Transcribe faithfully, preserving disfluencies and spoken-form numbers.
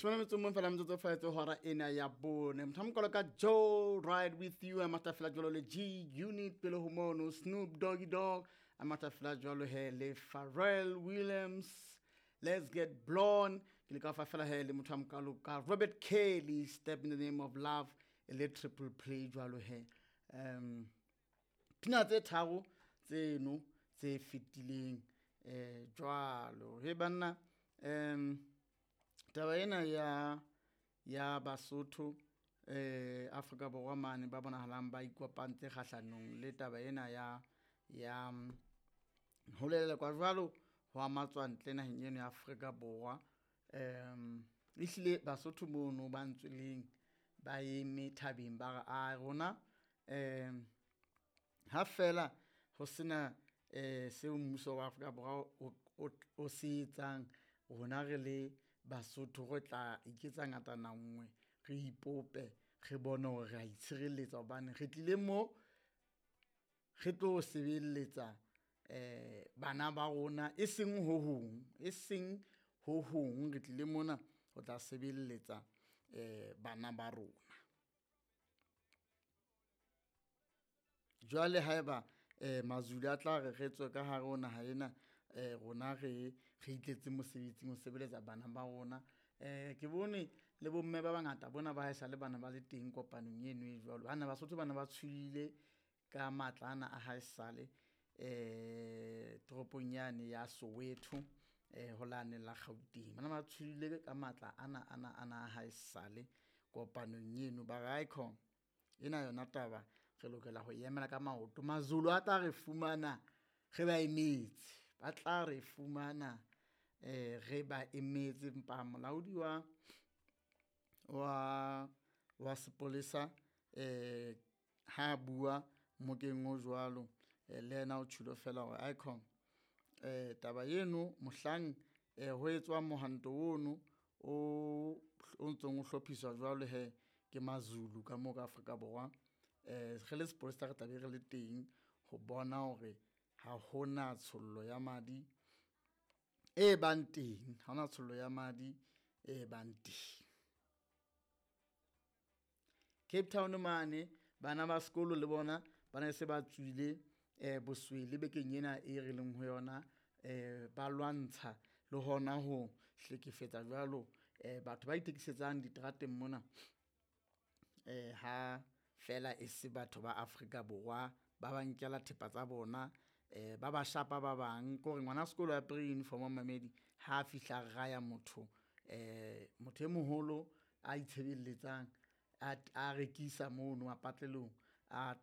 Shome le metso o mong fela metsotso fela tse hora ena ya bone. Motho a mokalo ka Joe Ride With You a matha fela jwalo le G Unit, pele ho mono Snoop Doggy Dogg a matha fela jwalo he le Pharrell Williams, Let's Get Blown. Ke le ka fa fela he le motho a mokalo ka Robert Kelly, Step in the Name of Love, e le triple play jwalo he. Um pina tse tharo tseno tse fetileng eh jwalo he banna. Um taba ena ya ya Basotho eh Afrika Borwa mane ba bonahalang ba ikopantse kgahlanong le taba ena ya ya ho lelekwa jwalo ho matswantle naheng eno ya Afrika Borwa. Um ehlile Basotho mono ba ntsweleng ba eme thabeng ba re a rona um ha fela ho sena eh seo mmuso wa Afrika Borwa o o o se etsang, rona re le Basotho re tla iketsa ngatana nngwe, re ipope, re bone hore re a itshireletsa hobane re tlile mo re tlo sebeletsa eh bana ba rona, e seng ho hong, e seng ho hong, re tlile mona ho tla sebeletsa eh bana ba rona. Jwale haeba eh Mazulu a tla re re tswe ka hare ho naha ena, eh rona re re itletse mosebetsing ho sebeletsa bana ba rona. Eh ke bone le bomme ba bangata bona ba haesale bana ba le teng kopanong eno e jwalo. Bana Basotho bana ba tshohile ka matla ana a haesale eh toropong yane ya Soweto eh ho lane la Gauteng. Bana ba tshohile ka matla ana ana ana a haesale kopanong eno ba re aikhona ena yona taba re lokela ho emela ka maoto. Mazulu a tla re fumana re ba emetse, ba tla re fumana eh re ba emetse. Empa molaodi wa wa wa sepolesa eh ha bua mokeng o jwalo le yena o tjhulo fela hore aikhona eh taba eno mohlang eh ho etswang mohwanto ono o o ntsong o hlophiswa jwalo he ke Mazulu ka mo ka Afrika Borwa. Eh re le sepolesa re tla be re le teng ho bona hore ha hona tshollo ya madi e bang teng, ha hona tshollo ya madi e bang teng. Cape Town mane bana ba sekolo le bona ba ne se ba tswile eh boswele bekeng ena e re leng ho yona, eh ba lwantsha le hona ho hlekefetsa jwalo eh batho ba ithekisetsang diterateng mona eh ha fela e se batho ba Afrika Borwa ba ba nkela thepa tsa bona, eh ba ba shapa ba bang ke hore ngwana sekolo a apere uniform mamedi ha fihla raya motho eh motho e moholo a itshebeletsang a a rekisa mono mapatlelong a